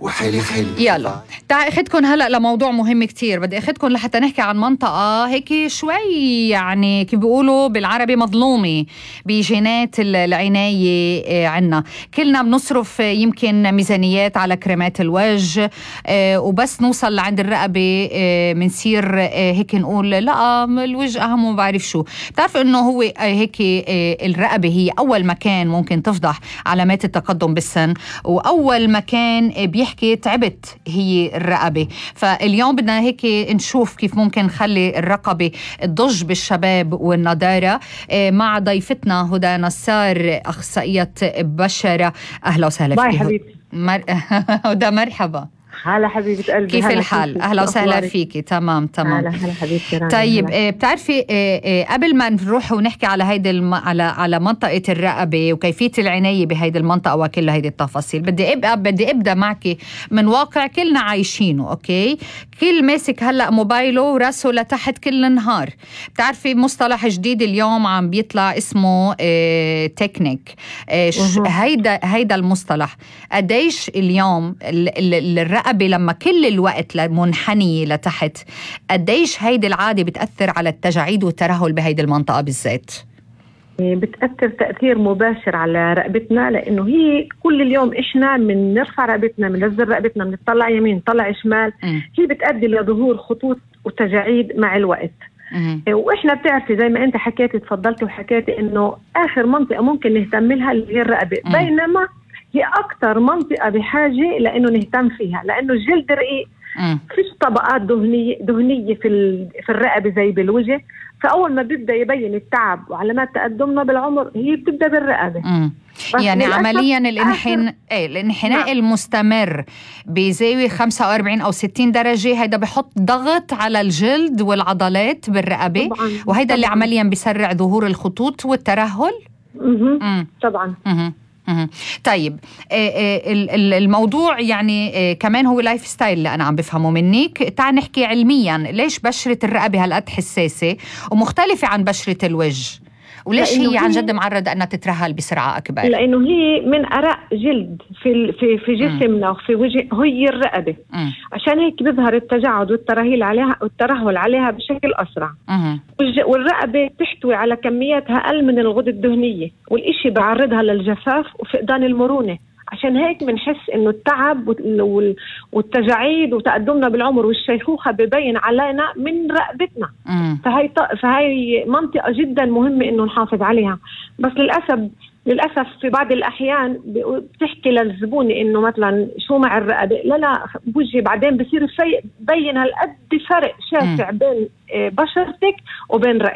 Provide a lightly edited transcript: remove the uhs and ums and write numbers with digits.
وحلي حلي. يلا تعال اخدكن هلأ لموضوع مهم كتير. بدي اخدكن لحتى نحكي عن منطقة هيك شوي يعني كيف بيقولوا بالعربي مظلومة بجينات العناية عنا. كلنا بنصرف يمكن ميزانيات على كريمات الوجه وبس نوصل لعند الرقبة منصير هيك نقول لا الوجه أهم وما بعرف شو. بتعرف انه هو هيك الرقبة هي اول مكان ممكن تفضح علامات التقدم بالسن، واول مكان بيحكي تعبت هي الرقبة. فاليوم بدنا هيك نشوف كيف ممكن نخلي الرقبة تضج بالشباب والنضارة مع ضيفتنا هدى نصار أخصائية بشرة. أهلا وسهلا فيك. باي حبيبتي. هدى مرحبا. هلا حبيبة قلبي. كيف الحال؟ أهلا وسهلا فيكي. تمام. هلا حبيبتي. طيب بتعرفي قبل ما نروح ونحكي على هيدي على منطقة الرقبة وكيفية العناية بهيدي المنطقة وكل هيدي التفاصيل، بدي أبدأ معك من واقع كلنا عايشينه. أوكي، كل ماسك هلأ موبايله وراسه لتحت كل النهار. بتعرفي مصطلح جديد اليوم عم بيطلع اسمه تكنيك. هيدا المصطلح قديش اليوم الرقبة لما كل الوقت منحنية لتحت، قديش هيدي العادة بتأثر على التجاعيد والترهل بهيدي المنطقة بالذات؟ بتأثر تأثير مباشر على رقبتنا، لأنه هي كل اليوم إحنا من نرفع رقبتنا، من ننزل رقبتنا، من نطلع يمين نطلع شمال. هي بتؤدي لظهور خطوط وتجاعيد مع الوقت. وإحنا بتعرفي زي ما أنت حكيتي تفضلتي وحكيتي إنه آخر منطقة ممكن نهتم لها اللي هي الرقبة، بينما هي أكتر منطقة بحاجة لأنه نهتم فيها، لأنه الجلد رقيق، فيش طبقات دهنية في الرقبة زي بالوجه. فأول ما بيبدأ يبين التعب وعلامات تقدمنا بالعمر هي بتبدأ بالرقبة. يعني عمليا الانحناء المستمر بزاوية 45 أو 60 درجة هيدا بحط ضغط على الجلد والعضلات بالرقبة طبعاً. وهيدا اللي عمليا بيسرع ظهور الخطوط والترهل. طبعا. طيب الموضوع يعني كمان هو لايف ستايل اللي أنا عم بفهمه منك. تعال نحكي علميا ليش بشرة الرقبة هالقد حساسة ومختلفة عن بشرة الوجه، وليش هي عن جد معرضة أنها تترهل بسرعة أكبر؟ لأنه هي من أرق جلد في جسمنا وفي وجه هي الرقبة. عشان هيك بيظهر التجاعد والترهل عليها بشكل أسرع. والرقبة تحتوي على كميات أقل من الغدة الدهنية، والإشي بعرضها للجفاف وفقدان المرونة. عشان هيك بنحس إنه التعب والتجاعيد وتقدمنا بالعمر والشيخوخة ببين علينا من رقبتنا. فهي منطقة جدا مهمة إنه نحافظ عليها. بس للأسف في بعض الأحيان بتحكي للزبون إنه مثلا شو مع الرقبة، لا بوجهي بعدين بصير بين هالقد فرق شاسع بين بشرتك وبين رقبتك.